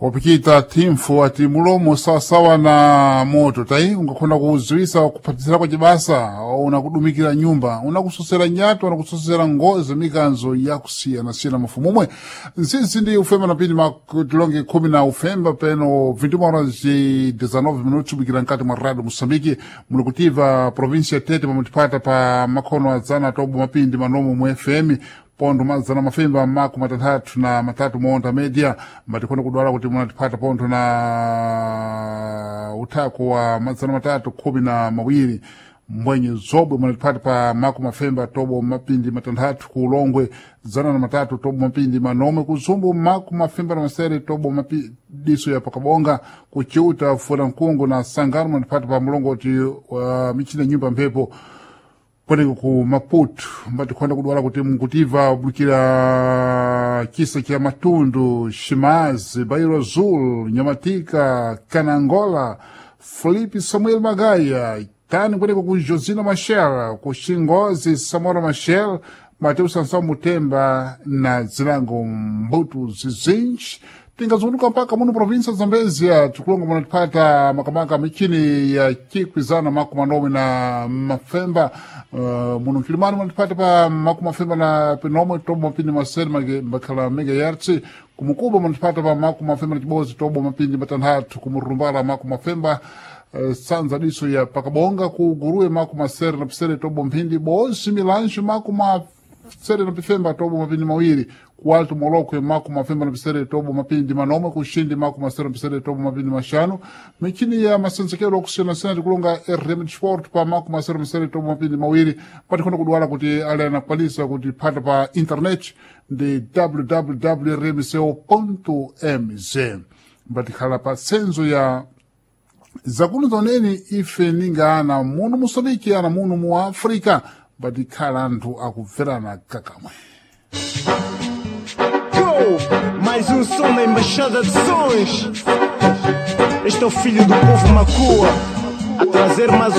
Wapikita timfu ati mulomo sawasawa na moto tai ungakhona kuziwisa kuphatisira kwa cibasa unakudumikira nyumba unakusosera nyato unakusosera ngozi mikanzo yakusiyanasiyana mafumu omwe nsinsi ndi ufemba na pindi matilonge khumi na ufemba peno 21 horas e 19 minutos ubikira nkati mwa radio Moçambique muli kutiva província Tete pamutipata pa makhono adzana tobo mapindi manomo mu FM pontho mazana mafemba maku matanthatu na matatu monda media matikhona kudwala kuti munatipata pontho na uthako wa mazana matatu khumi na mawiri mbwenye zobwe munatipata pa maku mafemba tobo mapindi matanthatu ku ulongwe zana na matatu tobo mapindi manomwe ku zumbu maku mafemba na masere tobo mapidiso ya pakabonga ku chiuta funa mkungu na sangano munatipata pa mlongoti wa michina nyumba mphepo kweneko ku Maputo mbatikhonda kudwala kuti mkutiva kubukira chisa cha Matundu, Shimazi, Bairo Azul, Nyamatika, Kanangola, Felipe Samuel Magaya, tani kweneko ku Josina Machel, ku Xingozi Samora Machel, Mateus Sansão Mutemba na zilango Mbuto zizinji tingazunguka mpaka muno provinsa Zambezia tikulonga munatipata makamaka michini ya chikwizana maku manomwe na mafemba muno mkilimani munatipata pa maku mafemba na pinomwe tobo mapindi masere makhala megahertz kumukuba munatipata pa maku mafemba na chibozi tobo mapindi matanthatu kumurumbala maku mafemba sanza diso ya pakabonga ku guruwe maku masere na pisere tobo mphindi bozi milanjo maku masere na pifemba tobo mapindi mawiri ku alto molokwe maku mafemba na pisere tobo mapindi manomwe kuxindi maku masere na pisere tobo mapindi maxanu michini ya masenzekelo okusiyanasiyana tikulonga rm sport pa maku masere na pisere tobo mapindi mawiri patikhona kudwala kuti ali anakwanisa kuti phata pa internet ndi www rmco mz mbatikhala pa senzo ya zakuno zoneni ife ninga ana muno Moçambique ana muno mu Africa batikhala anthu akubverana kakamwe. Go! Mais um som na Embaixada de Sons. Este é o filho do povo Macua a trazer mais